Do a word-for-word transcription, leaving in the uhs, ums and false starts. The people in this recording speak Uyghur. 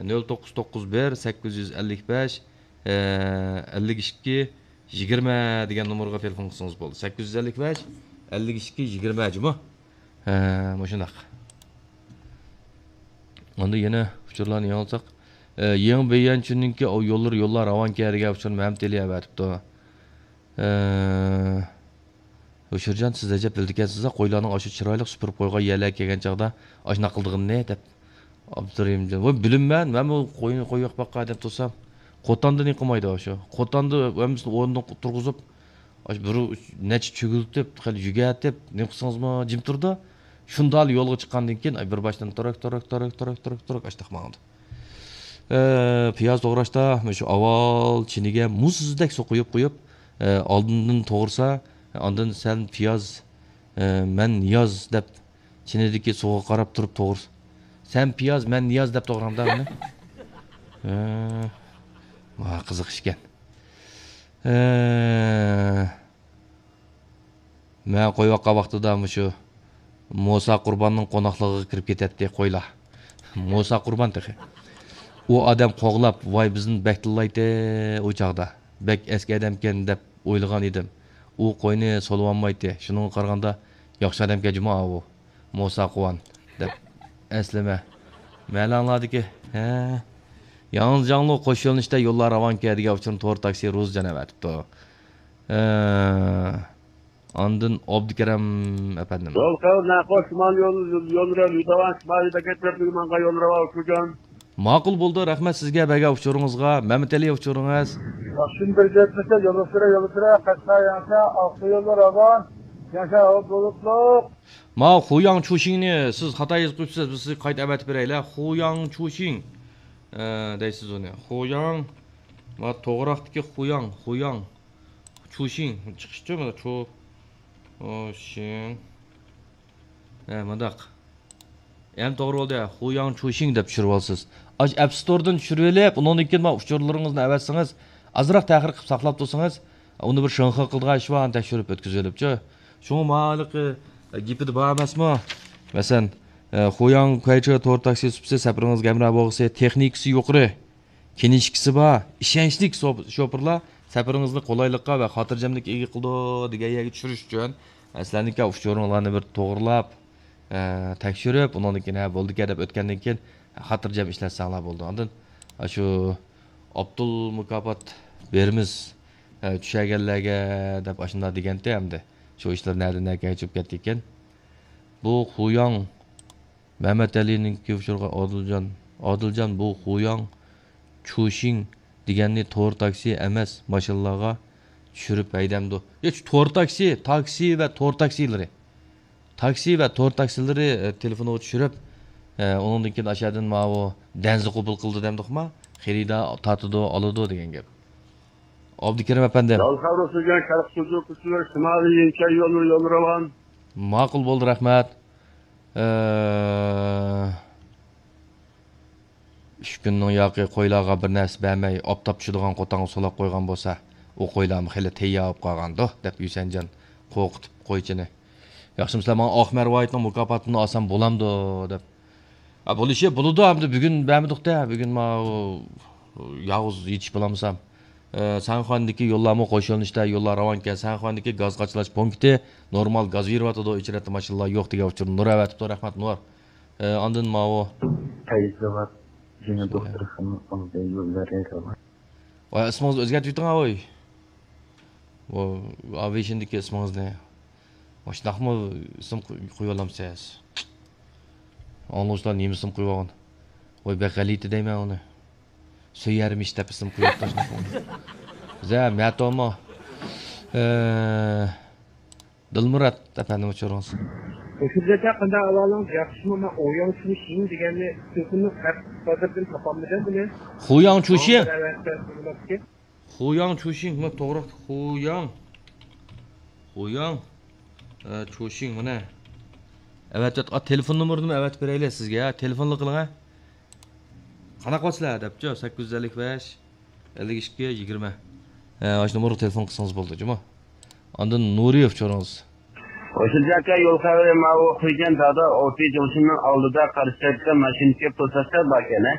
نۆل توققۇز توققۇز بىر سەككىز يۈز ئەللىك بەش، ئەللىك ئىككى يىگىرمە دېگەن نومۇرغا تېلېفون قىلسىڭىز بولىدۇ. سەككىز يۈز ئەللىك بەش، ئەللىك ئىككى يىگىرمە جۇمۇ. ھە، مۇشۇنداق. ئاندىن يەنە ئۇچۇرلارنى يېڭىلىساق. ئە، يېڭى بېيەنچىنىڭكى ئۇ يوللىرى يوللار راۋانكە دېگەن ئۇچۇرنى مەمتىلى ئەۋەتىپتۇ. ئە، ھۆشۈرجان، سىز ئەجەب بىلىدىكەنسىز، قويلارنىڭ ئاشۇ چىرايلىق سۈپۈرۈپ قويغان يەرلەرگە كەلگەن چاغدا ئاشۇنداق قىلىدىغىنىنى، دەپ. ئابدۇرېھىمجان، ۋاي، بىلىمەن، مەنمۇ قوينى قويۇپ باققان دەپ تۇرسام، قوتاندا نېمە قىلمايدۇ ئاشۇ؟ قوتاندا ھەممىسىنى ئورنىدىن تۇرغۇزۇپ، ئاشۇ بىر نەچچە چۆگۈلتۈپ، خېلى يۈگەتىپ، نېمە قىلسىڭىزمۇ جىم تۇرىدۇ. شۇنداق يولغا چىققاندىن كېيىن، ئاي، بىر باشتىن تۇرۇك، تۇرۇك، تۇرۇك، تۇرۇك، تۇرۇك، تۇرۇك، ئاشتاق ماڭىدۇ. ئە، پىياز توغراشتا، مۇشۇ ئاۋۋال چىنىگە مۇزدەك سۇ قۇيۇپ، قۇيۇپ، ئە، ئالدىندىن توغرىسا، ئاندىن سەن پىياز، ئە، مەن نىياز دەپ، چىنىدىكى سۇغا قاراپ تۇرۇپ توغرىسا. سەن پىياز، مەن نىياز دەپ توغرامدا بۇنى؟ ھە، ۋا، قىزىق ئىشكەن. ئە، مەن قويۇۋاتقان ۋاقتىدا مۇشۇ موسا قۇرباننىڭ قوناقلىقىغا كىرىپ كېتەتتى قويلار. موسا قۇربان تېخى. ئۇ ئادەم قوغلاپ، ۋاي، بىزنى بەك تىللايتتى ئۇ چاغدا. بەك ئەسكى ئادەمكەن دەپ ئويلىغان ئىدىم. ئۇ قوينى سولىۋالمايتتى. شۇنىڭغا قارىغاندا ياخشى ئادەمكەن جۇمۇ ئاۋۇ. موسا قۇۋان دەپ ئەسلىمە. مەلەڭلاردىكى، ھە. ياڭزىجاڭلۇ قوش يۆنىلىشتە يوللار راۋانكە دېگەن ئۇچۇرنى تور تاكسى روزىجان ئەۋەتىپتۇ. ئە، ئاندىن ئابدۇكېرەم ئەپەندىم. يول خەۋپ ناخوش شىمال يول، يول، يول، يول، يول، شىمالىي بەكرەك تەرەپلىرىگە ماڭغان يول راۋان ئۇچۇرجان. ماقۇل بولدى، رەھمەت سىزگە بەرگەن ئۇچۇرىڭىزغا. مەمتىئەلى ئۇچۇرىڭىز. ياخشىمۇ بىر گەپلىسە، يوللىسىرا، يوللىسىرا، قەشقەر ياڭشا، ئاقسۇ يولى راۋان، ياڭشا ھاۋا بۇلۇتلۇق. ما خۇياڭ چۇشىڭنى سىز خاتا يېزىپ قويۇپسىز، بىز سىزگە قايتا ئەۋەتىپ بېرەيلى. خۇياڭ چۇشىڭ، ئە، دەيسىز ئۇنى. خۇياڭ، ما توغراقتىكى خۇياڭ، خۇياڭ. چۇشىڭ، چىقىشىچۇ مانا چۇ، ئۇ، شىڭ. ھە، مۇنداق. ئەمدى توغرا بولدى. خۇياڭ چۇشىڭ دەپ چۈشۈرۈۋالسىز. ئاش ئەپ ستوردىن چۈشۈرۈۋېلىپ، ئۇنىڭدىن كېيىن مانا ئۇچۇرلىرىڭىزنى ئەۋەتسىڭىز، ئازراق تەخىر قىلىپ ساقلاپ تۇرسىڭىز، ئۇنى بىر شىڭخې قىلىدىغان ئىش بار، ئانى تەكشۈرۈپ ئۆتكۈزۈۋېلىپچۇ. شۇڭا ماۋۇ ھېلىقى، ئە، گېپىدە بار ئەمەسمۇ؟ مەسىلەن، ئە، خۇياڭ كۇەيچې تور تاكسى سۇپىسى سەپىرىڭىزگە ھەمراھ بولغۇسى، تېخنىكىسى يۇقىرى. كىنىشكىسى بار، ئىشەنچلىك سوپ-، شوپۇرلار سەپىرىڭىزنى قولايلىققا ۋە خاتىرجەملىككە ئىگە قىلىدۇ دېگەن يەرگە چۈشۈرۈش ئۈچۈن، سىلەرنىڭكى ئۇچۇرۇڭلارنى بىر توغرىلاپ، ئە، تەكشۈرۈپ، ئۇنىڭدىن كېيىن، ھە، بولدىكەن دەپ ئۆتكەندىن كېيىن، خاتىرجەم ئىشلەتسەڭلار بولىدۇ. ئاندىن، ئاشۇ ئابدۇل مۇكاپات بېرىمىز، ئە، چۈشەرگەنلەرگە دەپ ئاشۇنداق دېگەنتى ئەمدى. شۇ ئىشلار نەدىن نەگە چىقىپ كەتتىكىن. بۇ خۇياڭ مەمەتئەلىنىڭكى ئۇچۇرغا ئادىلجان، ئادىلجان، بۇ خۇياڭ چۇشىڭ دېگەننى تور تاكسى ئەمەس، ماشىنىلارغا چۈشۈرۈپ ھەيدەمدۇ؟ يا، شۇ تور تاكسى، تاكسى ۋە تور تاكسىلىرى. تاكسى ۋە تور تاكسىلىرى، ئە، تېلېفونغا چۈشۈرۈپ، ئە، ئۇنىڭدىن كېيىن ئاشۇ يەردىن ماۋۇ دەنزە قوبۇل قىلىدۇ دەمدۇقما؟ خېرىدار تارتىدۇ، ئالىدۇ دېگەن گەپ. ئابدۇكېرىم ئەپەندىم. يول خەۋىرى سۈرگەن شەرق سوزۇق كۈچلىرى شىمالىي يىنچەي يولى، يولى راۋان. ماقۇل بولدى، رەھمەت. ئە، ئۈچ كۈننىڭ ياقى قويلارغا بىر نەرسە بەرمەي، ئاپتاپ چۈشىدىغان قوتانغا سولاپ قويغان بولسا، ئۇ قويلارمۇ خېلى تەييار بولۇپ قالغاندۇ، دەپ ھۈسەنجان قورقۇتۇپ قويچىنى. ياخشىمۇسىلەر، ماڭا ئاق مەرۋايىتنىڭ مۇكاپاتىنى ئالسام بولامدۇ، دەپ. ئا، بولۇشى بولىدۇ، ئەمدى بۈگۈن بەرمىدۇق-دە، بۈگۈن ماۋۇ يالغۇز يېتىشىپ بولالمىسام. ئە، سەنخەندىكى يوللارمۇ قوش يۆنىلىشتە، يوللار راۋانكەن، سەنخەندىكى گاز قاچىلاش پونكىتى نورمال گاز بېرىۋاتىدۇ، ئېچىرەتتە ماشىنىلار يوق دېگەن ئۇچۇرنى نۇر ئەۋەتىپتۇ، رەھمەت نۇر. ئە، ئاندىن ماۋۇ پەيزاۋات يېڭى دوختۇرخانىنىڭ ئالدى يوللىرى راۋان. ۋاي، ئىسمىڭىزنى ئۆزگەرتىۋېتىڭ، ھە، ۋاي. ۋو، ئاۋىشىندىكى ئىسمىڭىزنى. مۇشۇنداقمۇ ئىسىم قوي-، قويۇۋالامسىز؟ ئاڭلىغۇچىلار نېمە ئىسىم قويۇۋالغان؟ ۋاي، بەك غەلىتە دەيمەن ئۇنى. سۆيەرمىش دەپ ئىسىم قويۇپتۇ شۇنداق. زە، مەتومۇ. ئە، دىلمۇرات ئەپەندىم، ئۇچۇرىڭىز. ھۆشۈرجان ئاكا، قانداق ئەھۋالىڭىز؟ ياخشىمۇ؟ مەن ئوياڭ چۈشىڭ دېگەننى تېلېفوننىڭ ئەپ بازىرىدىن تاپالمىدىم بۇنى. خۇياڭ چۈشىڭ. خۇياڭ چۈشىڭ، مانا توغرا. خۇياڭ. خۇياڭ. ئە، چۈشىڭ، مانا. ئەۋەتىۋەت-، ئا، تېلېفون نومۇرىنىمۇ ئەۋەتىپ بېرەيلى سىزگە. تېلېفونلا قىلىڭ، ھە. قانداق قىلىسىلەر دەپچۇ، سەككىز يۈز ئەللىك بەش، ئەللىك ئىككى، يىگىرمە. ھە، ئاشۇ نومۇرغا تېلېفون قىلسىڭىز بولدى، جۇمۇ. ئاندىن نۇرىيېف چورىڭىز. ھۆسنىجان ئاكا، يول خەۋىرى ماۋۇ خۇيجەن دادا ئوتى جۇڭشىننىڭ ئالدىدا قارشى تەرەپتە ماشىنىدىكى پۇل تاشلاپ باركەن، ھە؟